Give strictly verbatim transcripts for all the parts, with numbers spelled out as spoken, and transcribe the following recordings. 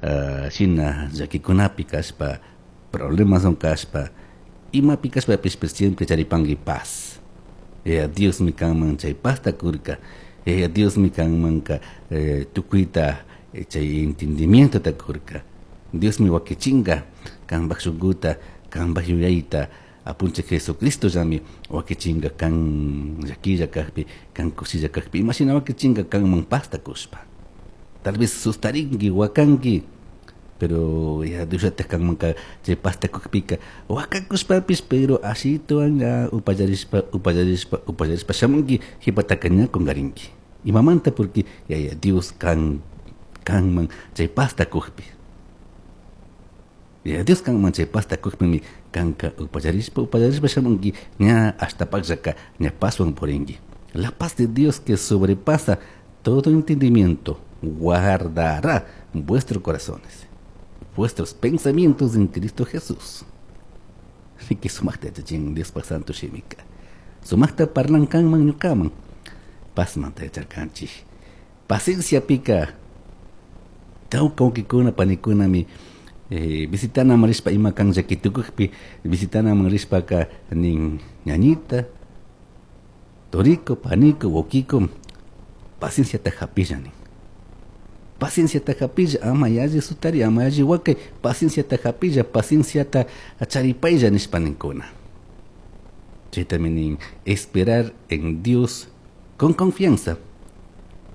uh, shina llaquikunapi kashpa, problemas kashpa, imapi kashpapish siempre charipanki paz. Yaya Diosmi kanman chay pazta kurka. Yaya Diosmi kanmanka eh, tukuyta eh, chay entendimientota kurka. Diosmi wakichinga kanpak shunkuta, kanpak yuyayta, apunchik Jesucristo llami wakichinga kan llaquilla kakpi, kan kushilla kakpi, imashina wakichinga kanman pazta kushpa. Tal vez sustarinki, wakanki, pero ya Diosllatak kanmanka chay pazta kukpika wakakushpapish, pero ashituwan ya upallarishpa, upallarishpa, upallarishpa shamunki, jipataka ña kungarinki. Imamanta porque Yaya Dios kan kanman chay pazta kukpi. Yaya Dios kanman chay pazta kukpimi kanka upallarishpa, upallarishpa shamunki, ña hasta pakllaka ña pazwan purinki. La paz de Dios que sobrepasa todo entendimiento guardará vuestros corazones, vuestros pensamientos en Cristo Jesús. Así que sumaqta yachachin Diospa santo shimika. Sumaqta parlan kanman ñukaman. Pazmanta yacharkanchik. Paciencia pika. Tawka wawkikuna panikunami eh, visitanaman rishpa ima kan llakitukukpi visitanaman rishpaka nin ñañita, toriko, paniko, wawkiko, pacienciata hapilla nin. Pacienciata hapilla, ama yalli sutari, ama yalli wakay, pacienciata hapilla, pacienciata charipaylla nishpa ninkuna. Chaytami nin, esperar en Dios con confianza.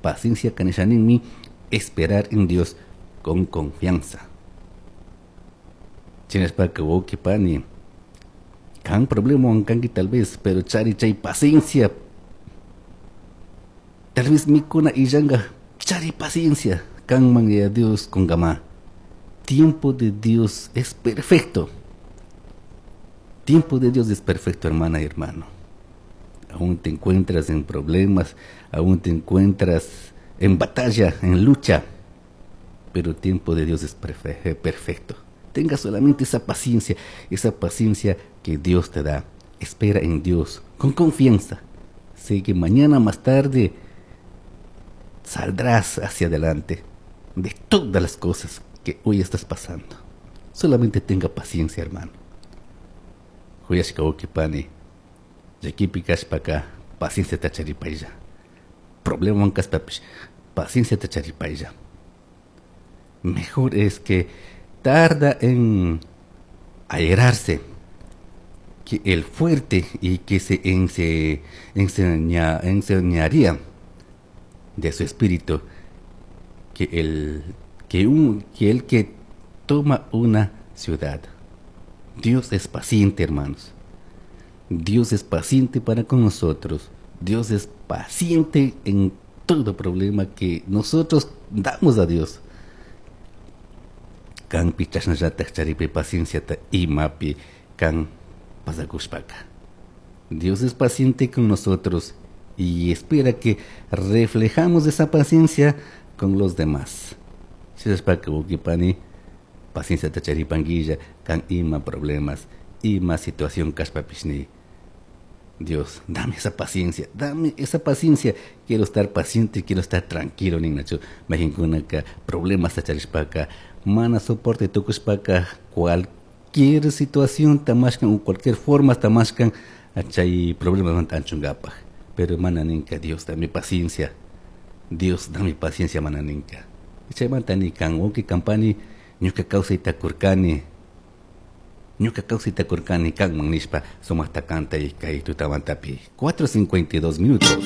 Paciencia kanisha ninmi, esperar en Dios con confianza. Chinashpaka wawki pani, kan problema kanki tal vez, pero chari chay paciencia. Tal vez mikuna illanga, chari paciencia. Kanman ya Dios kungama. Tiempo de Dios es perfecto. Tiempo de Dios es perfecto, hermana y hermano. Aún te encuentras en problemas, aún te encuentras en batalla, en lucha, pero el tiempo de Dios es perfecto. Tenga solamente esa paciencia, esa paciencia que Dios te da. Espera en Dios con confianza. Sé que mañana más tarde saldrás hacia adelante de todas las cosas que hoy estás pasando. Solamente tenga paciencia, hermano. Huyashka wawki pani, llakipi kashpaka pacienciata charipaylla. Problemawan kashpapish pacienciata charipaylla. Mejor es que tarda en airarse que el fuerte y que se ense, enseña, enseñaría de su espíritu que el que, un, que el que toma una ciudad. Dios es paciente, hermanos. Dios es paciente para con nosotros. Dios es paciente en todo problema que nosotros damos a Dios. Kanpi chashnallataj charipi pacienciata imapi kan pasakushpaka. Dios es paciente con nosotros y espera que reflejamos esa paciencia con los demás. Shinashpaka wawki pani, pacienciata charipanguilla kan ima problemas, ima situación kashpapishni. Dios, dame esa paciencia, dame esa paciencia. Quiero estar paciente, quiero estar tranquilo, ninnachu. Mayqinkunaka problemas charishpaka, mana soporte tukushpaka, cualquier situación tamashkan o cualquier forma tamashkan, chay problemas anchungapaj. Pero mana ninka, Dios, dame paciencia. Dios, dame paciencia, mana ninka. Chaymanta ni kan wawki kan pani, ñuka kawsayta kurkani, ñuka kawsayta kurkani kanman nishpa sumaqta kantay kay tutamantapi. cuatro cincuenta y dos minutos.